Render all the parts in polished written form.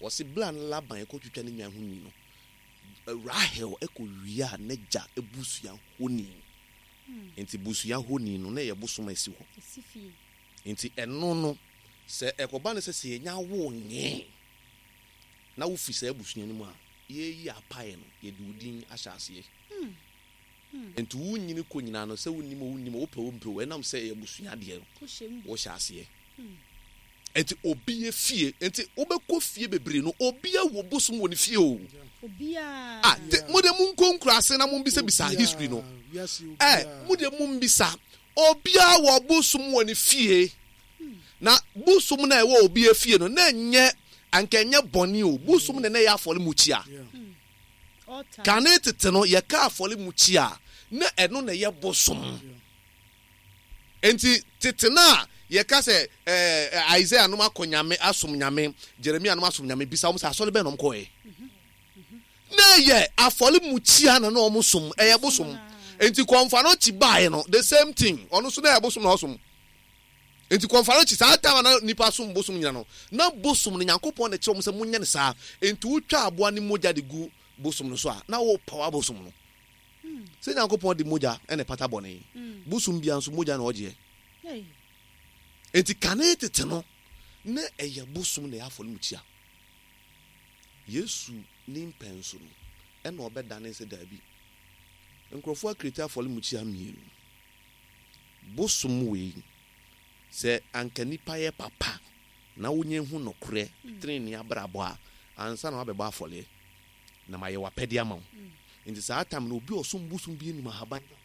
Wɔse bere a na Laban rekɔtwitwa ne nnwan ho nwi no, Rahel kɔwiaa n'agya busua honi. Enti busua honi no, na ɛyɛ bosom a ɛsi hɔ. Enti ɛno no, sɛ ɛkɔba no sɛ sɛ yɛnya wo nyee na wofi saa abusua no mu a, yɛreyi apaeɛ no, yɛde wo din ahyɛ aseɛ. Enti wonyini kɔ nyinaa no, sɛ wonim o wonnim o, wopɛ o wompɛ o, ɛnam sɛ ɛyɛ abusua adeɛ no, wohyɛ aseɛ. Enti obi fie, enti wobɛkɔ fie bebree no, obi wɔ bosom wɔ ne fie o. Ah, te, mo deɛ monkɔ nkuraase na mombisabisa history no. Eh, mo deɛ mombisa. Obiara wɔ bosom wɔ ne fie. Na bosom na ɛwɔ obi fie no, na ɛnyɛ, anka ɛnyɛ bɔne o. Bosom na na ɛyɛ afɔremukyia. Kane tete no, yɛka afɔremukyia a, na ɛno na ɛyɛ bosom. Enti tete no a yɛka sɛ ɛɛ Isaiah nom akɔ Nyame asom Nyame, Jeremia nom asom Nyame, bisa wɔn sɛ asɔre bɛn na wɔn kɔɛ? Na ɛyɛ afɔremukyia na na wɔn som, ɛyɛ bosom. Enti kɔnfanɔkyi baeɛ no, the same thing, ɔno nso na ɛyɛ bosom na ɔsom. Enti kɔnfanɔkyi saa time a na nipa som bosom nyina no, na bosom no Nyankopɔn na ɛkyerɛ wɔn sɛ monyɛ no saa. Enti wotwa aboa ne mogya de gu bosom no so a, na wopaw abosom no. Sɛ Nyankopɔn de mogya na ɛpata bɔne, bosom biara nso mogya na ɔgyeɛ. Enti kane tete no, na ɛyɛ bosom na ɛyɛ afɔremukyia. Yesu ne mpɛn so no, ɛna ɔbɛdane sɛ daabi. Nkurɔfoɔ akireti afɔremukyia mmienu. Bosom wei, sɛ anka nipa yɛ papa na wonya hu nokorɛ, tenenee abrabɔ a, ansa na wabɛbɔ afɔreɛ. na mayɛ w'apɛdeɛ ama wo. Nti saa tam no, obi a ɔsom bosom bi anim ahaban ka ho.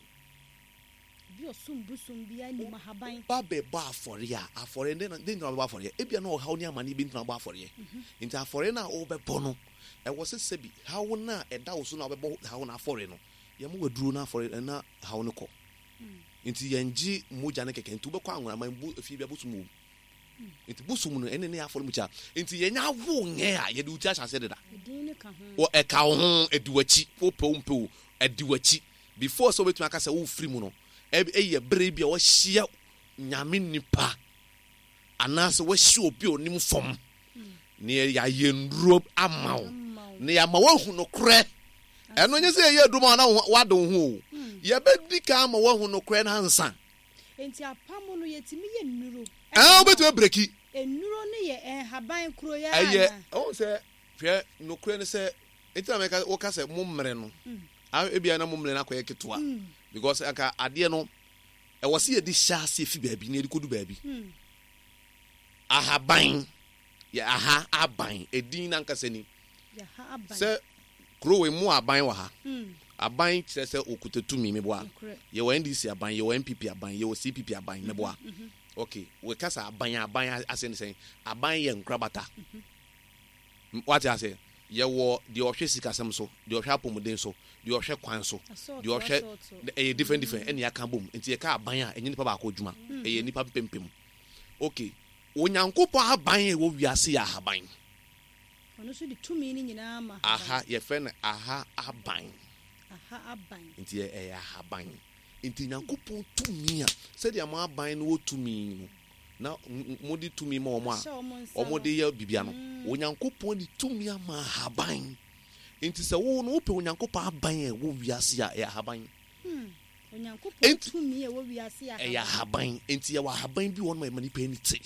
Obi a ɔsom bosom bi anim ahaban. Woba bɛbɔ afɔreɛ a, afɔreɛ no, dɛn nti na wobɛbɔ afɔreɛ? Ebia na ɔhaw ne amaneɛ bi nti na wobɔ afɔreɛ. Nti afɔreɛ no a wobɛbɔ no, ɛwɔ sɛ sɛbi haw no a ɛda wo so no a wobɛbɔ haw no afɔreɛ no, yɛma wo aduro no afɔreɛ na haw no kɔ. Nti yɛngye mogya no kɛkɛ. Nti wobɛkɔ anworaman, efie bi a bosom wɔ mu. Nti bosom no ɛne ne afɔremukyia. Nti yɛnya awo nyɛ a yɛde wo ti ahyɛ aseɛ deda. Wɔ ɛka wo ho ɛdi w'akyi wopɛ wo mpɛ o ɛdi w'akyi before sɛ wobɛtumi aka sɛ wofiri mu no ɛyɛ bere bi a wahyia nyame nipa anaasɛ wahyia obi a onim fam na yɛayɛ nnuro ama wo na yɛama woahu nokorɛ. Ɛno nyɛ sɛ yɛyɛ aduro ma wo na wade wo ho o. Yɛbɛdi kan ama woahu nokorɛ no ansa. Enti apam no yɛtumi yɛ nnuro. Ɛɛ wobɛtumi abreki. Nnuro no yɛ nhaban koro yi ara Ɛyɛ anaa? wohu sɛ hwɛ nokorɛ ne sɛ nti na mɛka woka sɛ mo mmerɛ no ebia na mo mmerɛ no akɔyɛ ketewa because anka adeɛ no ɛwɔ sɛ yɛde hyɛ aseɛ fi baabi na yɛde kɔdu baabi. Ahaban Yɛ aha aban, edin no ankasa ni. Sɛ kuro wei mu aban wɔ ha. Aban kyerɛ sɛ okuta tumi, meboa. Yɛwɔ NDC aban, yɛwɔ NPP aban, yɛwɔ CPP aban, meboa. Ok, wɔka sɛ aban a, aban ase ne sɛn? Aban yɛ nkorabata. Wate ase? Yɛwɔ deɛ ɔhwɛ sikasɛm so, deɛ ɔhwɛ apɔmuden so, deɛ ɔhwɛ kwan so, deɛ ɔhwɛ ɛyɛ different different ɛna yɛaka bom. Nti yɛka aban a, ɛnyɛ nipa baako adwuma, ɛyɛ nipa mpempem. Ok, Onyankopɔn aban a ɛwɔ wiase yɛ ahaban. Ɔno nso de tumi no nyinaa ma ahaban. Aha, yɛfrɛ no aha aban. Aha aban. Nti ɛyɛ ahaban. Nti Nyankopɔn tumi a, sɛdeɛ mo aban no wɔ tumi no, na mode tumi ma wɔn a, wɔde yɛ biribiara no, Onyankopɔn de tumi ama ahaban. Nti sɛ wo no wopɛ Onyankopɔn aban a ɛwɔ wiase a, ɛyɛ ahaban. Onyankopɔn tumi a ɛwɔ wiase yɛ ahaban. Ɛyɛ ahaban. Enti yɛwɔ ahaban bi wɔ hɔ nom a ɛma nipa ani te.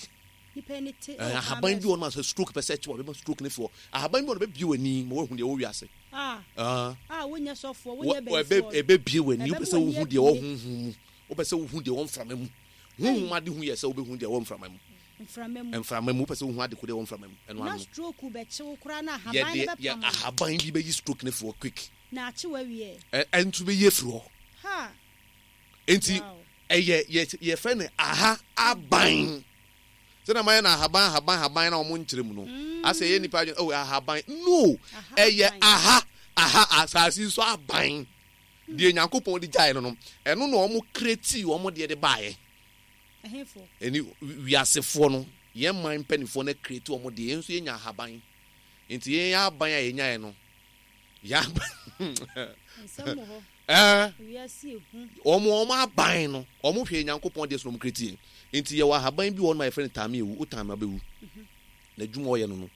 Nipa ani te. Ɛɛ ahaban bi wɔ nom a sɛ stroke pɛ sɛ ɛkye wɔ bɛma stroke no fi hɔ. Ahaban bi wɔ nom bɛbie w'ani ma woahu deɛ ɛwɔ wiase. Ah. Ah wonyɛ sɔfoɔ, wonyɛ bɛyifoɔ. Ɛbɛbie w'ani. Wopɛ sɛ wohu deɛ ɛwɔ honhom mu. Wopɛ sɛ wohu deɛ ɛwɔ mframa mu. Honhom ade hu yɛ sɛ wobɛhu deɛ ɛwɔ mframa mu. Mframa mu. Mframa mu. Wopɛ sɛ wohu ade ko deɛ ɛwɔ mframa mu. Ɛno ano. Na stroke bɛkye wo koraa na ahaban no bɛpam. Yɛde ahaban bi bɛyi stroke no fi hɔ quick. Na akye w'awie. Ɛ ɛnso bɛyi afiri hɔ. Ha! Enti Wow. ɛyɛ yɛ yɛfrɛ no aha aban. Sɛdeɛ mayɛ no ahaban ahaban ahaban na wɔn nkyerɛ mu no. Asɛ ɛyɛ nipa adwene oh ahaban no Aha ɛyɛ aban. aha aha asase yi so aban. Deɛ Nyankopɔn de gyaeɛ no no ɛno na wɔn create wɔn deɛ de baeɛ. Ɛhefoɔ? Ɛne wiasefoɔ no yɛn man mpanimfoɔ no create wɔn deɛ yɛn nso yɛnya ahaban. Nti yɛn aban a yɛnyaeɛ no Wɔn wɔn aban no, wɔn hwɛ Nyankopɔn deɛ so na wɔn kreti yɛn. Nti yɛwɔ ahaban bi wɔ hɔ nom a yɛfrɛ no taame ewu, wo taame abɛwu. Na adwuma ɔyɛ no no.